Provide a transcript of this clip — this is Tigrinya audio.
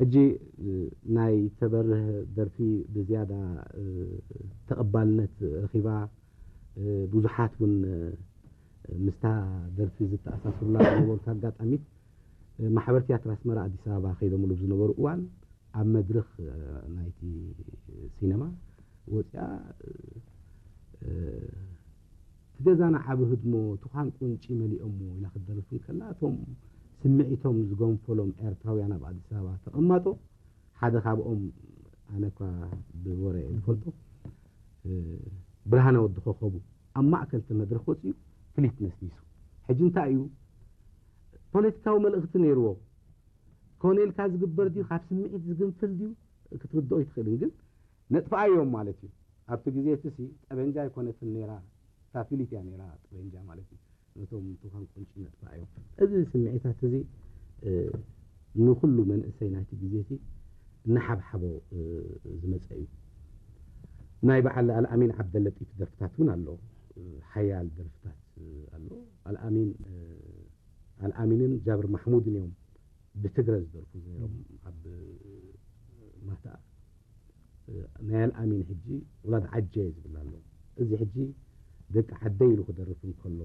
ሕጂ ናይ ተበርህ ደርፊ ብዝያዳ ተቐባልነት ረኺባ፣ ብዙሓት እውን ምስታ ደርፊ ዝተኣሳስሩላ ዝነበሩት ኣጋጣሚት፣ ማሕበር ትያትር ኣስመራ ኣዲስ ኣበባ ከይዶምሉ ብዝነበሩ እዋን ኣብ መድረኽ ናይቲ ሲነማ ወፂኣ፣ እቲ ገዛና ዓቢ ህድሞ ትዃን ቁንጪ መሊኦሞ ኢላ ክትደርፍ እንከላ፣ እቶም ስምዒቶም ዝገንፈሎም ኤርትራውያን ኣብ ኣዲስ ኣበባ ተቐማጦ ሓደ ካብኦም፣ ኣነ እኳ ብወረ እየ ዝፈልጦ፣ ብርሃነ ወዲ ኮኸቡ ኣብ ማእከል እቲ መድረኽ ወፂኡ ፍሊት ነስኒሱ። ሕጂ እንታይ እዩ ፖለቲካዊ መልእኽቲ ነይርዎ? ኮነ ኢልካ ዝግበር ድዩ፣ ካብ ስምዒት ዝግንፍል ድዩ፣ ክትርድኦ ይትኽእልን፣ ግን ነጥፍኣዮም ማለት እዩ። ኣብቲ ግዜ እቲ ሲ ጠበንጃ ኣይኮነትን ነይራ፣ እታ ፍሊት እያ ነይራ ጠበንጃ ማለት እዩ። ነቶም ትዃን ቁንጪ ነጥፍኣዮም። እዚ ስምዒታት እዚ ንኩሉ መንእሰይ ናይቲ ግዜ እቲ እናሓብሓቦ ዝመፀ እዩ። ናይ በዓል ኣልኣሚን ዓብደለጢፍ ደርፍታት እውን ኣሎ። ሓያል ደርፍታት ኣሎ። ኣልኣሚን ኣልኣሚንን ጃብር ማሕሙድን እዮም ብትግረ ዝደርፉ ነይሮም ኣብ ማታ። ናይ ኣልኣሚን ሕጂ ውላድ ዓጀ ዝብል ኣሎ። እዚ ሕጂ ደቂ ዓደይ ኢሉ ክደርፍ እንከሎ